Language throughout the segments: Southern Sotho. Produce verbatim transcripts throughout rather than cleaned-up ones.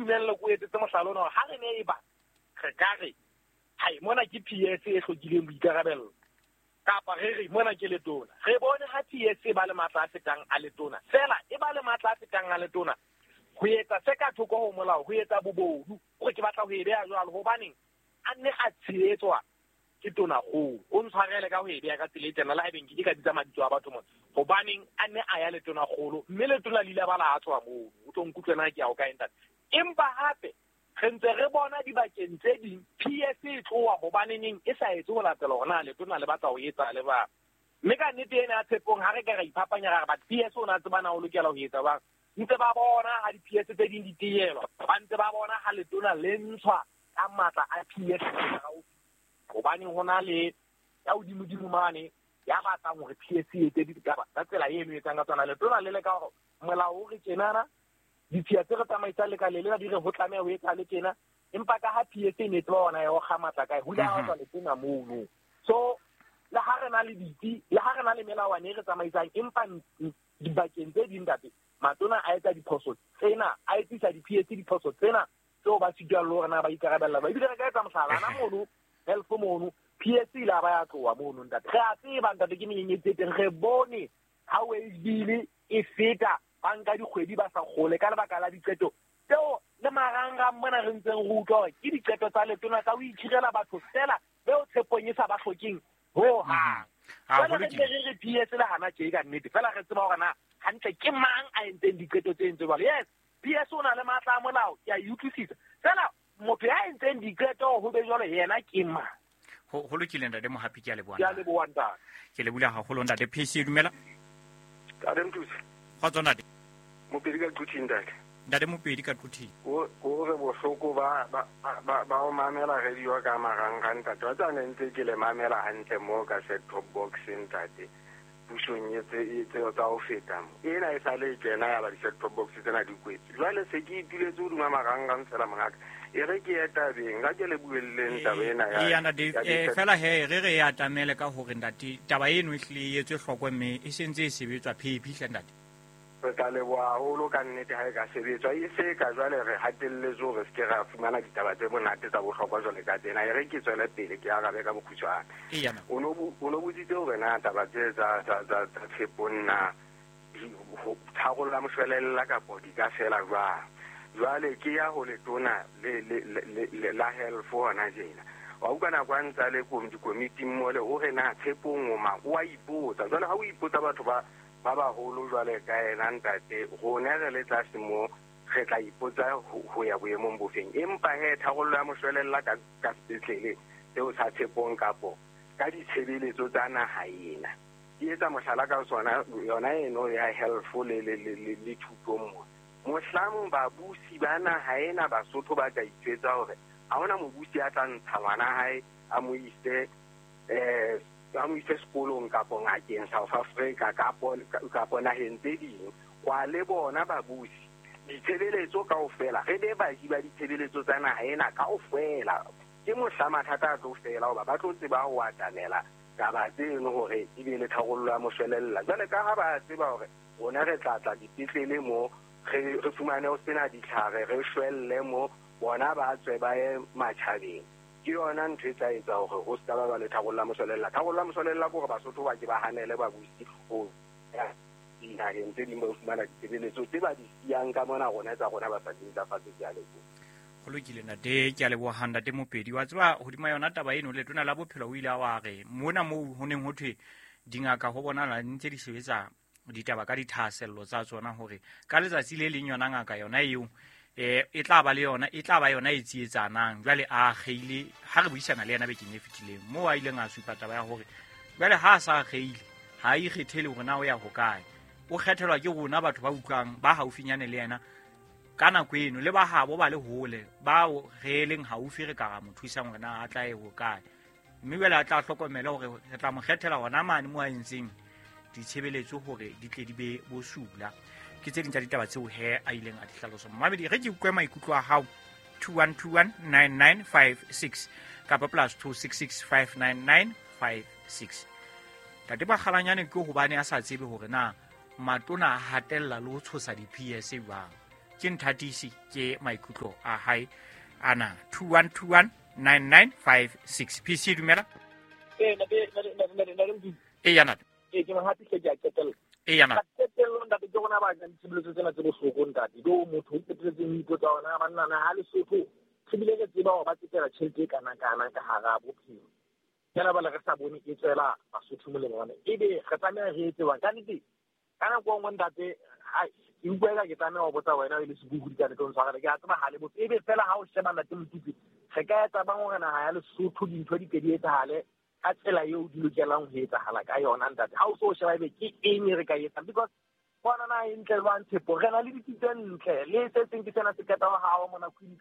ntumelle ko etsetse mohlala ona hore ha re ne e ba re ka re hai mona ke P S e hlokileng boikarabello kapa re re mona ke letona. Re bone ha P S e ba le matla a fetang a letona fela e ba le matla a fetang a letona ho etsa se ka thoko ho molao, ho etsa bobodu hore ke batla ho e beha jwalo hobaneng a nne a tshehetswa ke tona kgolo. O ntshwarele ka ho e beha ka tsela e tjena le haebeng ke ke ka bitsa mabitso a batho mona hobaneng a nne a ya le tona kgolo mme letona le ile ba la tswa mono. O tlo nkutlwe na ke ya o kae ntate. Empa hape re ntse re bona dibakeng tse ding P S e tloha hobaneneng e sa etse ho latela hore na letona le batla ho etsa le ba. Mme ka nnete ena ya Tshepong ha re ka ra iphapanya ra re but P S o na tseba na o lokela ho etsa bang. Ntse ba bona ha di-P S tse ding di teyelwa, ba ntse ba bona ha letona le ntshwa ka matla a P S hobaneng ho na le ya hodimodimo mane ya batlang hore P S e etse ditaba ka tsela eno e etsang ka tsona. Letona le leka hore molao o re tjenana ditshiya tse re tsamaisang lekaleng lena di re ho tlameha ho etsa le tjena, empa ka ha P S e ne tseba ona ya ho kga matla kae ho ile ha tswa letona mono. So le ha re na le ditsi le ha re na le melawana e re tsamaisang, empa dibakeng tse ding ntate matona a etsa diphoso tsena, a etsisa di-P S diphoso tsena tseo ba sitwang le hore na ba ikarabella ba. Ebile re ka etsa mohlala na mono health mono P S ile ba ya tloha mono ntate. Re a tseba ntate ke menyenyetsi e teng, re bone ha wage bill e feta ba nka dikgwedi ba sa kgole ka lebaka la diqeto tseo le marangrang mona re ntseng re utlwa hore ke diqeto tsa letona tsa ho itjhirela batho fela beo Tshepong e sa ba hlokeng hohang. Jwale re ne re re P S le hana tje ka nnete fela re tseba hore na hantle ke mang a entseng diqeto tse entseng jwalo. Yes, P S o na le matla a molao, ke a e utlwisisa fela motho ya entseng diqeto ho be jwalo yena ke mang? Ho ho lokile ntate Mohapi, ke a leboha. Ke a leboha ntate. Ke leboha haholo ntate P C, dumela. Ntate Mthusi. Kgotso ntate. Mopedi ka Quthing ntate. Ntate Mopedi ka Quthing. O o re bohloko ba ba ba o mamela radio ka marangrang ntate. Wa tsana ntse ke le mamela hantle mo ka set top box ntate. Pusong e tse tse tsa ho feta mo. Ena e sale e kena ya ba di set top box tsena di kwetse. Jwale se ke ituletse hodima marangrang fela mongaka. E re ke ya tabeng, ka ke le buelleng taba ena ya. Ee ntate, eh fela he re re ya atamele ka hore ntate taba eno e hlile e etswe hloko mme e sentse e sebetswa phephi hle ntate. Re tla leboha haholo ka nnete ha e ka sebetswa. E se ka jwale re hatelletse hore se ke ra fumana ditaba tse monate tsa bohlokwa jwale ka tsena. E re ke tswele pele ke arabe ka bokgutshwane. O no o no botsitse hore na taba tse tsa tsa tsa Tshepong na tharollo moshwelella kapo di ka fela jwang. Jwale ke ya ho letona le le la health hona jena. Wa utlwa nako a ntsa le dikomiting mole o re na Tshepong o mang o a ipotsa. Jwale ha o ipotsa batho ba ba baholo jwale ka ena ntate rona re le tlase mo re tla ipotsa ho ya boemong bofeng. Empa he tharollo ya moshwelella ka ka sepetlele seo sa Tshepong kapo ka ditshebeletso tsa naha ena. Ke etsa mohlala ka sona yona eno ya health le le le le thuto mo. Mohlang babusi ba naha ena Basotho ba ka itjwetsa hore ha hona mobusi a tla ntsha ngwana hae a mo ise eh a mo ise sekolong kapo ngakeng South Africa kapo kapo naheng tse ding. Kwa le bona babusi ditshebeletso kaofela re be baji ba ditshebeletso tsa naha ena kaofela. Ke mohla mathata a tlo fela hoba ba tlo tseba ho atamela taba tseno hore e be le tharollo ya moshwelella. Jwale ka ha ba tseba hore rona re tla tla dipetlele mo re re fumane ho sena ditlhare re shwelle mo bona ba tswe ba ye matjhabeng. Ke yona ntho e tla etsa hore ho se ka ba le tharollo ya moshwelella. Tharollo ya moshwelella ke hore Basotho ba ke ba hanele babusi ho ya dinaheng tse ding ba fumana ditshebeletso tse ba di siyang ka mona rona tsa rona ba sa di ntlafatse. Ke a leboha. Ho lokile ntate, ke a leboha ntate Mopedi. Wa tseba hodima yona taba eno letona la bophelo o ile a wa re mona moo ho neng ho thwe dingaka ho bonahala ntse di sebetsa ditaba ka dithahasello tsa tsona hore ka letsatsi le leng yona ngaka yona eo eh e tla ba le yona e tla ba yona e tsietsanang. Jwale a kgeile ha re buisana le yena bekeng e fetileng moo a ileng a supa taba ya hore jwale ha a sa kgeile ha a ikgethele hore na o ya hokae, o kgethelwa ke rona batho ba utlwang ba haufinyane le yena ka nako eno le ba habo ba le hole ba re leng haufi re ka ra mo thusang hore na a tla e hokae, mme jwale a tla hlokomela hore re tla mo kgethela hona mane mo a entseng ditshebeletso hore di tle di be bosula. Ke tse ding tsa ditaba tseo he a ileng a di hlalosa. Momamedi re ke utlwe maikutlo a hao two one two one nine nine five six kapa plus two six six five nine nine five six. Ntate Bakgalanyane ke hobane a sa tsebe hore na matona a hatella le ho tshosa di-P S jwang. Ke nthatisi ke maikutlo a hae ana. Two one two one nine nine five six. P C dumela. Eh ntate ntate ntate ntate. Eh yana. Eh ke mohapi hle ke a qetella. Eh yana. Qetellong ntate ke rona ba jang ditshebeletso tsena tse bohloko ntate. Do motho o qetelletse ho ipotsa hore banna na ha Lesotho re bile re tseba hore ba tsetela tjhelete e kana kana ka hara bophelo. Jana ba le re sa bone e tswela Basotho molemo wane. Ebe re tlameha re etse jwang? Ka nnete ka nako e nngwe ntate ke utlwa eka ke tlameha ho botsa wena e le sebohodi ka nnete o ntshwarele. Ke a tseba ha le botse. Ebe fela ha o sheba ntate Motutsi re ka etsa bang hore naha ya Lesotho dintho di ke di etsahale ka tsela eo di lokelang ho etsahala ka yona ntate. Ha o so sheba ebe ke eng e re ka etsang? Because bona na e ntle jwang Tshepo, re na le ditsi tse ntle le se seng ke sena se qeta ho hawa mona Queen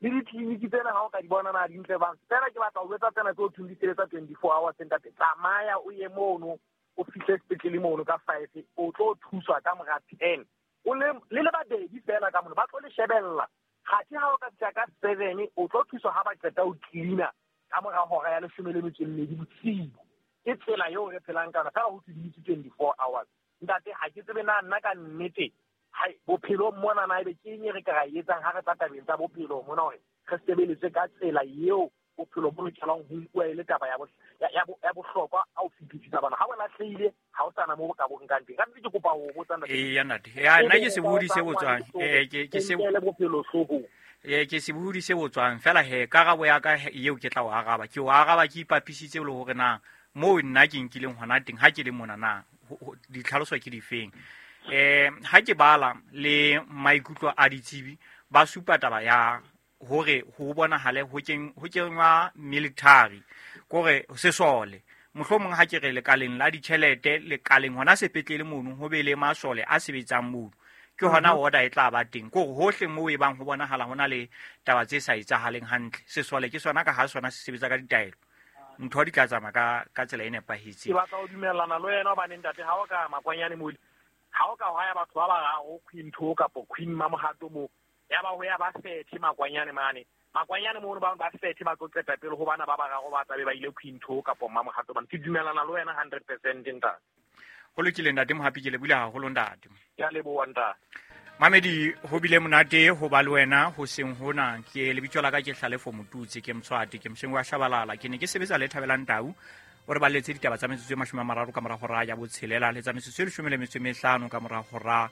le ditleliniki tsena ha o ka di bona na di ntle bang. Fela ke batla ho jwetsa tsena tse o thong di sebetsa twenty-four hours ntate. Tsamaya o ye mono o fihle sepetlele mono ka five o tlo thuswa ka mora ten. O le le le babedi fela ka mono ba tlo le shebella. Kgathe ha o ka fihla ka seven o tlo thuswa ha ba qeta ho cleaner ka mora hora ya leshome le metso e mmedi bosiu. Ke tsela eo re phelang ka yona fela ho thwe di twenty-four hours. Ntate ha ke tsebe na nna ka nnete hai bophelong mona na ebe ke eng e re ka ra etsang ha re tla tabeng tsa bophelo mona hore re sebeletse ka tsela eo bophelo bo lokelang ho nkuwa e le taba ya ya bohlokwa a o fetisisa bana. Ha bo lahlehile ha o sana moo bo ka bo nkang teng. Ka nnete ke kopa ho botsa ntate. Eh ya ntate. Ya nna ke sebohodi se botswang. Eh ke ke se bophelo hloohong. Eh ke sebohodi se botswang fela he karabo ya ka eo ke tla o araba. Ke o araba ke ipapisitse le hore na moo nna ke nkileng hona teng ha ke le mona na ditlhaloso ke difeng. Eh ha ke bala le maikutlo a ditsebi ba supa taba ya hore ho bonahale ho keng ho kengwa military kore sesole mohlomong ha ke re lekaleng la ditjhelete lekaleng hona sepetlele mono ho be le masole a sebetsang mono ke hona order e tla ba teng kore hohle moo e bang ho bonahala hona le taba tse sa etsahaleng hantle sesole ke sona ka ha sona se sebetsa ka ditaelo ntho di tla tsamaya ka ka tsela e nepahetseng. Ke batla ho dumellana le wena hobane ntate ha o ka makwanyane mo ha o ka haya batho ba bararo Queen Two kapa Queen Mamohato mo ya ba ho ya ba fethe makwanyane mane makwanyane mono ba ba fethe ba tlo qeta pele ho bana ba bararo ba tlabe ba ile Queen Two kapa Mamohato mane. Ke dumellana le wena hundred percent ntate. Ho lokile ntate Mohapi ke lebohile haholo ntate. Ke a leboha ntate. Mamedi ho bile monate ho ba le wena ho seng hona ke lebitso la ka ke Hlalefo Motutsi ke Mtshwati ke Msheng wa Shabalala ke ne ke sebetsa le Thabelang Tau o re baletse ditaba tsa metsotso e mashome a mararo ka mora hora ya botshelela le tsa metsotso e leshome le metso e mehlano ka mora hora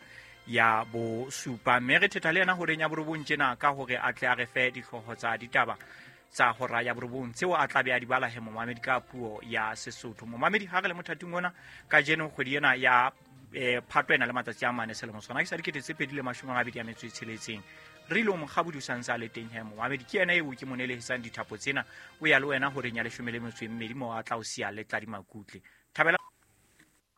ya bosupa mme re thetha le yena horeng ya borobong tjena ka hore a tle a re fe dihlooho tsa ditaba tsa hora ya borobong tseo a tla be a di bala he momamedi ka puo ya Sesotho. Momamedi ha re le mothating ona kajeno kgwedi ena ya eh Phato ena le matsatsi a mane selemo sona ke sa dikete tse pedi le mashome a mabedi a metso e tsheletseng re ile mokgabodi o santse a le teng he momamedi ke yena eo ke mo nelehetsang dithapo tsena o ya le wena horeng ya leshome le metso e mmedi moo a tla o siya le tla di makutle. Thabela